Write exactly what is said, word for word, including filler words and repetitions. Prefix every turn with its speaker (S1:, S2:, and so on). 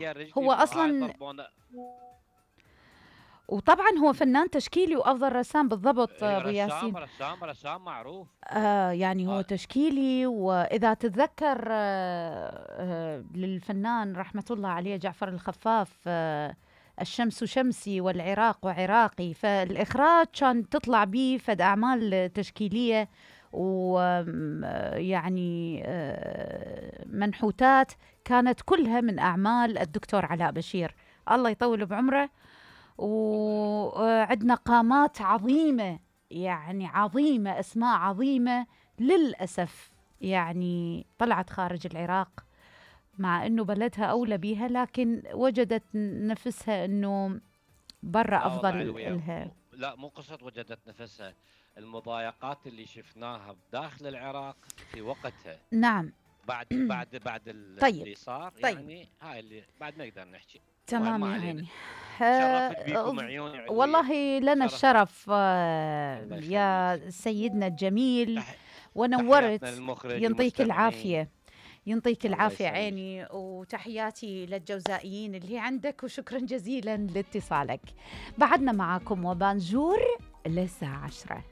S1: هو
S2: رجلي وهاي
S1: اصلا،
S2: ضربونة.
S1: وطبعا هو فنان تشكيلي وافضل رسام بالضبط
S2: إيه،
S1: ابو
S2: رسام
S1: ياسين.
S2: رسام رسام معروف.
S1: آه يعني هو
S2: آه.
S1: تشكيلي، واذا تتذكر آه آه للفنان رحمه الله عليه جعفر الخفاف، آه الشمس شمسي والعراق وعراقي، فالاخراج كان تطلع به فد اعمال تشكيليه ويعني منحوتات كانت كلها من اعمال الدكتور علاء بشير، الله يطول بعمره.
S2: الله يرحمه.
S1: وعندنا قامات عظيمة، يعني عظيمة، أسماء عظيمة للأسف يعني طلعت خارج العراق، مع أنه بلدها أولى بيها، لكن وجدت نفسها أنه برا
S2: لا والله
S1: أفضل
S2: علوية،
S1: لها.
S2: م... لا مو قصة وجدت نفسها، المضايقات اللي شفناها بداخل العراق في وقتها،
S1: نعم.
S2: بعد بعد بعد
S1: طيب.
S2: اللي صار،
S1: طيب.
S2: يعني هاي اللي بعد ما نقدر نحكي. المهم
S1: تمام
S2: ما
S1: يا
S2: علينا.
S1: عيني.
S2: شرفت
S1: آه،
S2: بيكم عيوني علوية.
S1: والله لنا
S2: شرف.
S1: الشرف آه،
S2: الله يخليك.
S1: يا سيدنا الجميل،
S2: تح... تحياتنا
S1: ونورت.
S2: للمخرج
S1: ينطيك
S2: والمستمعين.
S1: العافية، ينطيك
S2: الله
S1: العافية
S2: يسلمك.
S1: عيني، وتحياتي للجوزائيين اللي عندك، وشكرا جزيلا لاتصالك. بعدنا معاكم وبانجور للساعة عشرة.